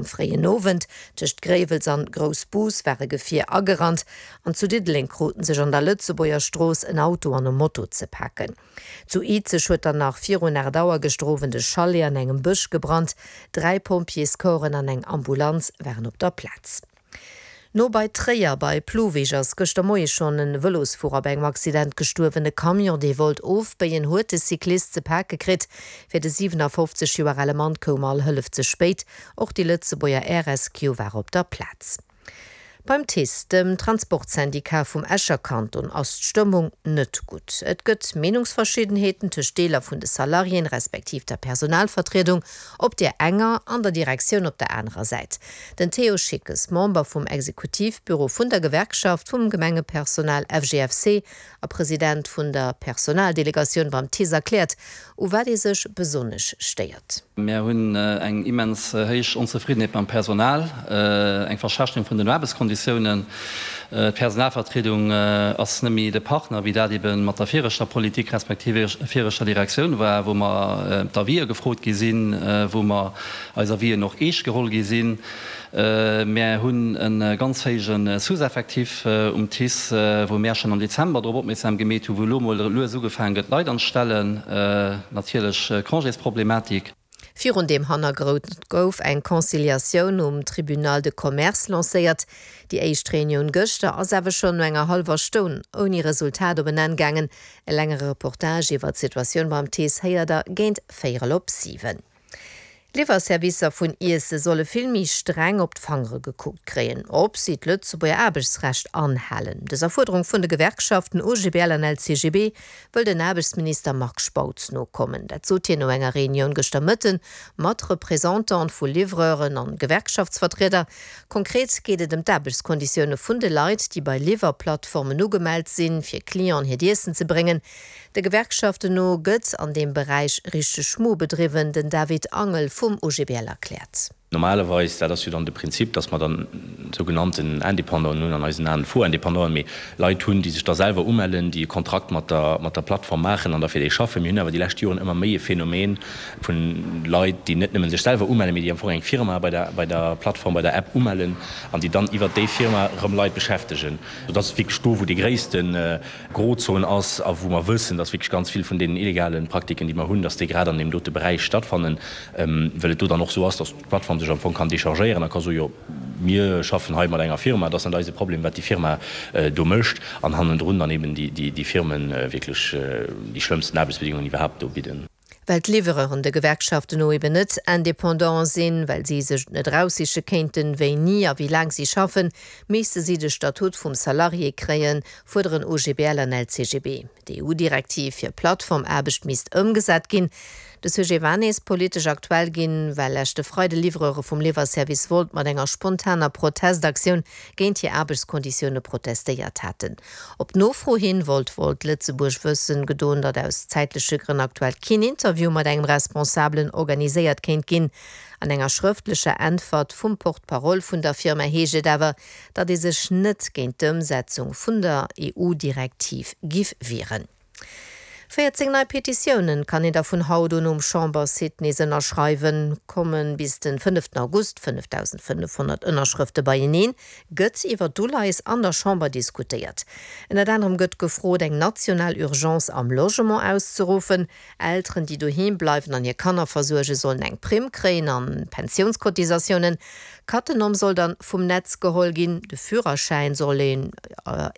Am fréien Owend, tëscht Gréiwels an Groussbus, war e Gefier agerannt an zu Diddeleng kruten sech an der Lëtzebuerger Strooss en Auto an e Moto ze paken. Zu Izeg huet dann nach virun 8 Auer gëschter Owend e Chalet an engem Bësch gebrannt. 3 Pompjeescorpsen an eng Ambulanz waren op der Plaz. No bei Tréier bei Plouwig ass gëschter Moie schonn en Vëlosfuerer bei engem Accident gestuerwen. E Camion, dee wollt ofbéien, huet de Cyclist ze pake kritt. Fir de 57 Joer ale Mann koum all Hëllef ze spéit. Och déi Lëtzebuerger Air Rescue war op der Plaz. Beim TICE, dem Transportsyndicat vum Escher Kanton, ass d'Stëmmung net gutt. Et gëtt Meenungsverschiddenheeten tëscht Deeler vun de Salariéen, respektiv der Personalvertriedung op där enger an der Direktioun op der anerer Säit. Den Théo Schickes, Member vum Exekutivbüro vun der Gewerkschaft vum Gemengepersonal FGFC a President vun der Personaldelegatioun beim TICE erkläert, u wat ee sech besonnesch stéiert. Mär hunn eng immens héich Onzefriddenheet mam Personal, eng Verschlechterung vun den Aarbechtskonditiounen. D'Personalvertriedung ass net méi de Partner, wéi dat ebe mat der viregter Politik respektiv viregter Direktioun war, wou mer d'Avisë gefrot gi sinn, wou mer eis Avisen och eescht geholl gi sinn. Mär hunn e ganz héije Sous-effectif um TICE, wou mär schonn am Dezember drop opmierksam gemeet hunn, wou elo mol lues ugefaange gëtt Leit anzestellen. Natierlech Congésproblematik. Virun deem Hannergrond gouf eng Conciliatioun um Tribunal de Commerce lancéiert. Déi éischt Reunioun gëschter ass awer schonn no enger hallwer Stonn ouni Resultat op en Enn gaangen. E längere Reportage iwwer d'Situatioun beim TICE héiert der géint véierel op 7. D'Liwwerservicer vun Iesse solle vill méi streng op d'Fangere gekuckt kréien, ob si d'Lëtzebuerger Aarbechtsrecht anhalen. Dëser Fuerderung vun de Gewerkschaften OGBL an LCGB wëll den Aarbechtsminister Marc Spautz nokommen. Dat sot hien no enger Reunioun gëschter Mëtten mat Representanten vu Livreuren an Gewerkschaftsvertrieder. Konkret geet et ëm d'Aarbechtskonditioune vun de Leit, déi bei Liwwerplattformen ugemellt sinn, fir Clienten hiert Iessen ze bréngen. De Gewerkschaften no gëtt an deem Beräich richteg Schmu bedriwwen. Den David Angel vum OGBL erkläert. Normalerweis, dat ass jo dann de Prinzip, datt mer dann sougenannten Indépendanten hunn, an eisen Aen faux Indépendanten, mee Leit hunn, déi sech da selwer umellen, déi e Kontrakt mat der, mat der Plattform maachen an da fir déi schaffen. Mir hunn awer déi lescht Joren ëmmer méi e Phänomen vu Leit, déi net nëmme sech selwer umellen, mee déi am Fong eng Firma bei der, bei der Plattform, bei der App umellen an déi dann iwwert déi Firma erëm Leit beschäftegen. Sodass et wierklech do, wou dee gréissten Grozon ass a wou mer wëssen, dass wierklech ganz vill vun deenen illegale Praktiken, déi mer hunn, dass déi grad an deem dote Beräich stattfannen, well et do dann och esou ass, dass d'Plattform sech am Fong kann déchargéieren a ka soen, jo, mir schaffen hei mat enger Firma, et ass net eise Problem, wat déi Firma do mécht, an hannendrun dann eben déi Firme wierklech déi schlëmmsten Aarbechtsbedingungen iwwerhaapt do bidden. Well d'Livreuren de Gewerkschaften no eben net indépendant sinn, well si sech et net eraussiche kéinten, wéini a wéi laang si schaffen, misste si de Statut vum Salarié kréien, fuerderen OGBL an LCGB. D'EU-Direktiv fir Plattformaarbecht misst ëmgesat ginn. De Sujet war nees politesch aktuell ginn, well leschte Freide Livreure vum Liwwerservice Wolt mat enger spontaner Protestaktioun géint hir Aarbechtskonditioune protestéiert haten. Op Nofro hin wollt Volt Lëtzebuerg wëssen gedoen, datt aus zäitleche Grënn aktuell keen Interview mat engem Responsabelen organiséiert kéint ginn. An enger schrëftlecher Äntwert vum Porte-parole vun der Firma heescht et awer, datt ee sech net géint d'Ëmsetzung vun der EU-Direktiv giff wieren. 14 nei Petitiounen kann een da vun haut un um Chambersite nees ënnerschreiwen. Komme bis den fënneften August 5.500 Ënnerschrëfte beieneen, gëtt iwwer d'Uleies an der Chamber diskutéiert. Ënnert anerem gëtt gefrot, eng national Urgence am Logement auszeruffen. Elteren, déi doheem bleiwen an hir Kanner versuergen, sollen eng Primm kréien an Pensiounscotisatiounen. Cattenom soll dann vum Netz geholl ginn, de Führerschäin soll een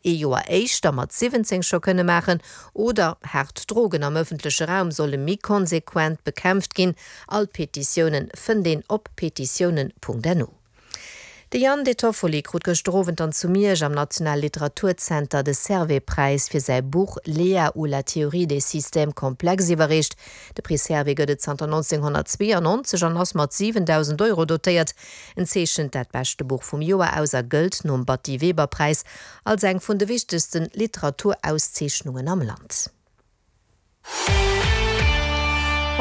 ee Joer éischter mat 17 scho kënne maachen oder haart Drogen am ëffentleche Raum solle méi konsequent bekämpft ginn. All d'Petitiounen fënnt een op petitiounen.no. De Jan De Toffoli krut gëschter Owend dann zu Miersch am Nationale Literaturzenter de Servais-Präis fir säi Buch Léa ou la théorie des systèmes complexes iwwerreecht. De Prix Servais gëtt et zanter 1992 an ass mat 7.000 Euro dotéiert. En zeechent dat beschte Buch vum Joer aus a gëllt nom Batty-Weber-Präis als eng vun de wichtegste Literaturauszeechnungen am Land.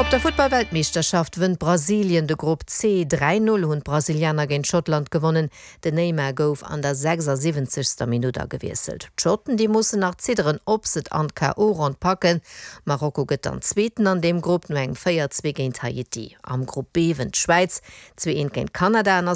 Op der Futtball-Weltmeeschterschaft wënnt Brasilien de Grupp C. 3, 0 hunn d'Brasilianer géint Schottland gewonnen. Den Neymar gouf an der 76. Minutt agewiesselt. D'Schotten, déi mussen nach zidderen, ob se et an d'KO-Ronn packen. Marokko gëtt dann Zweeten an deem Grupp no engem 4, 2 géint Haiti. Am Grupp B wënnt d'Schwäiz 2, 1 géint Kanada an ass.